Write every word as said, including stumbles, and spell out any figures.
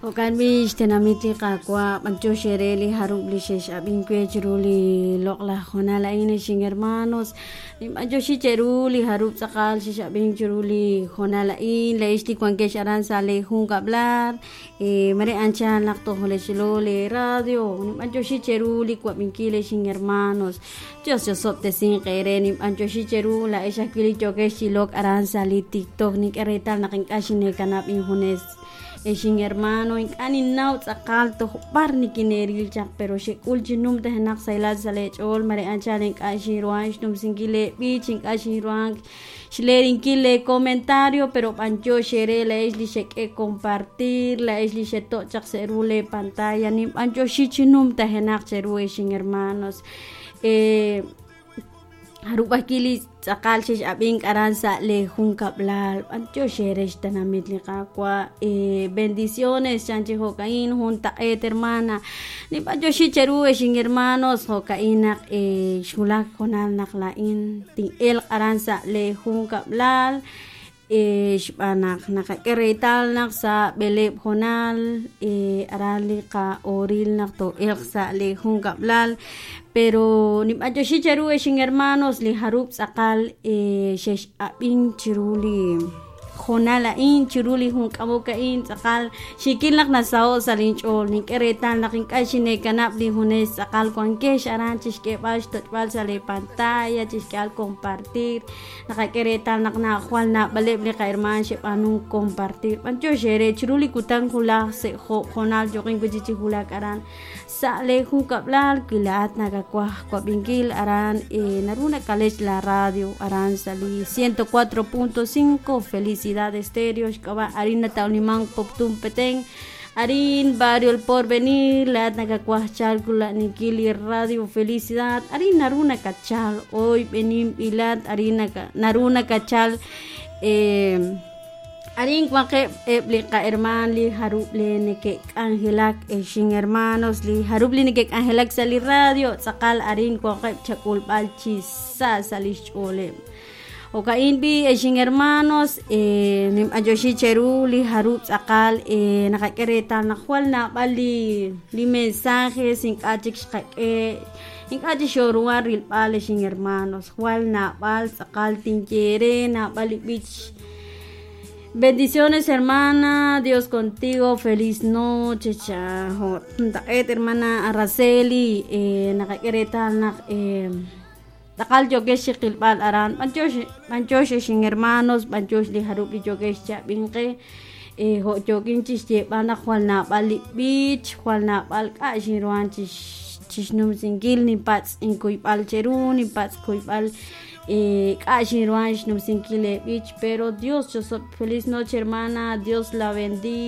Jo'kan b'i' xtenamit li Qaawa' b'antiox eere li jarub' li xex'ab'ink we chiru li loq'laj hoonal a'in exin hermanos ninb'antioxi cheru li jarub' tz'aqal xex'ab'ink chiru li hoonal a'in la'ex li wankex aran sa' le junkab'lal eh, mare anchal naq toj lexlo le radio ninb'antioxi cheru li wab'inkil exin hermanos Dios chosob'tesinq eere ninb'antioxi cheru la'ex ajwi' li yookex chilok aran sa' li TikTok nink'e reetal naq ink'a' xineekanab' injunes exin hermano ink'a' ninnaw tz'aqal toj b'ar nikineeril chaq pero xek'ul chi numtajenaq sahilal sa' leech'ool mare anchal ink'a' xinruhan xnumsinkil leeb'ich ink'a' xinruhan xleerinkil le comentario pero b'antiox eere la'ex li xek'e compartir la'ex li xeto' chaq sa' ru le pantalla ninb'antioxi chi numtajenaq cheru exin hermanos eh, jarub' ajwi' li tz'aqal xex'ab'ink aran sa' le junkab'lal b'antiox eere xtenamit li Qaawa' eh, bendiciones chan chi jo'ka'in juntaq'eet hermana ninb'antioxi cheru exin hermanos jo'ka'in naq eh, xwulak hoonal naq la'in tin'elq aran sa' le junkab'lal eh, xb'aan naq naqak'e reetal naq sa' b'eleeb' hoonal eh, aran li qa'ooril naq too'elq sa' le junkab'lal pero ninb'antioxi cheru exin hermanos li jarub' tz'aqal eh, xex'ab'ink chiru li hoonal a'in chiru li junk'amok a'in tz'aqal xikil naq nasaho' sa' linch'ool nink'e reetal naq ink'a' xineekanab' li junes tz'aqal wankex aran chixk'eeb'al xtoch'b'al sa' le pantalla chixk'eeb'al compartir naqak'e reetal naq jwal naab'aleb' li qahermaan xeb'aanunk compartir b'antiox eere chiru li kutan wulaj sa' jo'oob' hoonal yoqin wi' chik chi wulak aran sa' le junkab'lal wi laa'at nakawaj wab'inkil aran eh, naru nakalech la radio aran sa' li ciento cuatro punto cinco Felicidad Estéreo xk'ab'a' arin natawliman Poptún Petén arin barrio El Porvenir laa'at nakawaj chalk rula'aninkil li radio Felicidad arin naru nakachal hoy b'eninb'ilat arin naka naru nakachal eh, arin wanqeb' eb' li qahermaan li jarub' li neke'k'anjelak exin hermanos li jarub' li neke'k'anjelak sa' li radio tz'aqal arin wanqeb' chak'ulb'al chi sa' sa' lix ch'ooleb' jo'ka'in b'i' exin hermanos eh, ninb'antioxi cheru li jarub' tz'aqal eh, naqak'e reetal naq jwal naab'al li li mensajes ink'a' chik xqak'e ink'a' chik xoruhan rilb'al exin hermanos jwal naab'al tz'aqal tinye eere naab'al li b'ich Bendiciones, hermana. Dios contigo. Feliz noche. Cha. Juntaq'eet, hermana Araceli. Eh, naqak'e reetal naq eh, tz'aqal yookex chiqilb'al aran b'antiox b'antiox exin hermanos b'antiox li jarub' li yookex chab'inqe eh, jo' yookin chixyeeb'al naq jwal naab'al li b'ich jwal naab'al k'a' xinruhan chix chixnumsinkil ninpatz' inkuyb'al cheru ninpatz' kuyb'al eh, k'a' xinruhan xnumsinkil le b'ich pero Dios chosob feliz noche hermana Dios la bendiga